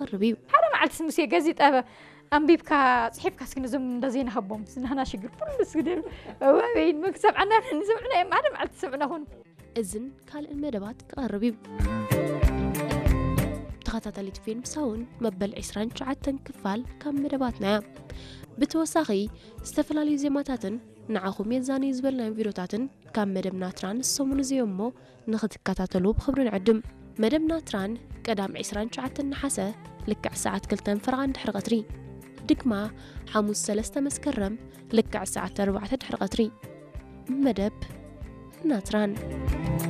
ክቐርብ እዩ። ሓደ መዓልቲ ስምስ የገዚ ጠበ ኣንቢብካ ጽሒፍካ እስኪ ነዞም እንደዘይ ንሃቦም ስናህና ሽግር ኩሉ ስግደል ወበይን መክሰብ ዓና ንስምዕና እዮም ሓደ መዓልቲ ስምዕና ኹን። እዝን ካልእን መደባት ክቐርብ እዩ። ተኸታታሊት ፊልም ሳውን መበል ዕስራን ትሽዓተን ክፋል ካብ መደባትና እያ። ብተወሳኺ ዝተፈላለዩ ዜማታትን ንዓኹም የዛንዩ ዝበልናዮም ቪድዮታትን ካብ መደብ ናትራን ሰሙን እዚ እሞ ንኽትከታተሉ ብኽብሪ ንዕድም። መደብ ናትራን ቀዳም ዕስራን ትሽዓተን ነሓሰ ልክዕ ሰዓት ክልተን ፈረቓን ድሕሪ ቀትሪ፣ ድግማ ሓሙስ ሰለስተ መስከረም ልክዕ ሰዓት ኣርባዕተ ድሕሪ ቀትሪ። መደብ ናትራን።